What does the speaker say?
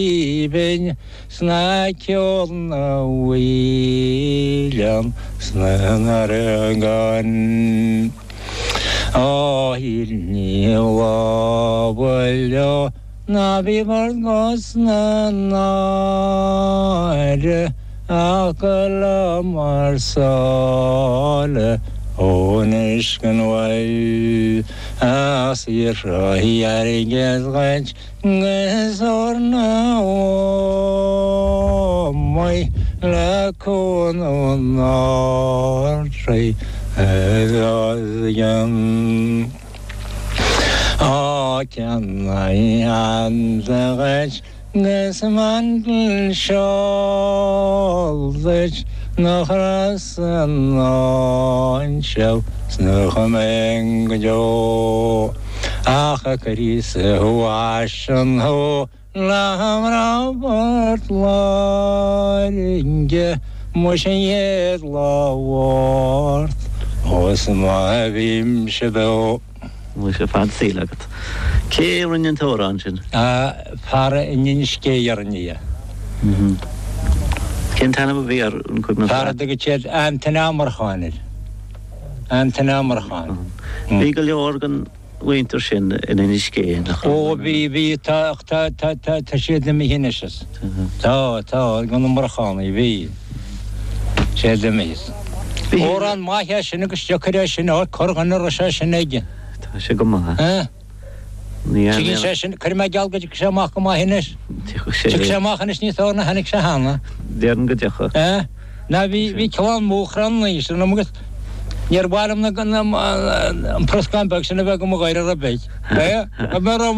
Aoibhinn 's ná ceol na bhfaoileán 's na n-aireagán. Ó ní lámha leo ná bí bhur gcos na náire ach go lá mar sáile ón uisce an bhaill as iarraidh airgead dhuit 'Gus ór na h-Ómaí le cúnamh an Ard-Rí os cionn. Ó ceannaigh hata dhuit 'gus mantle seol duit nach raibh san áinseal 's nach mbeidh go deo. Ach a Chríosa thú aisean thú le mná Phort Láirge muis an chéad lá Mháirt ós má bhímse beo. Muise fad saoil agat. Cé a rinne an t-amhrán sin? Fear in Inis Géidh a rinne é. Cén t-ainm a bhí air, an cuimhin leat? Fear a dtugann siad Antaine Ó Murcháin air. Antaine Ó Murcháin. Bhí go leor den mhuintir sin in Inis Géidh, nach raibh? Ó bhí, bhí, tá, ach tá, tá, tá, tá siad imithe anois is. Tá, tá, de na Murchánaigh, bhí. Siad imithe. Amhrán maith é sin agus deacair é sin a fháil, corrdhuine a raibh sé sin aige. Tá sé go maith. Eh? Ní Tiocfaidh sé sin, cuirfidh mé geall go dtiocfaidh sé amach go maith anois. Tiocfaidh sé. Tiocfaidh sé amach anois níos fearr ná tháinig sé cheana. Déarfainn go dtiocfaidh. Eh? Ná bhí, bhí clann Mhóchrann anois ionam agus níor mhaith liom na, na, an proscán beag sin a bheith go mo ghoir ar bith. Eh?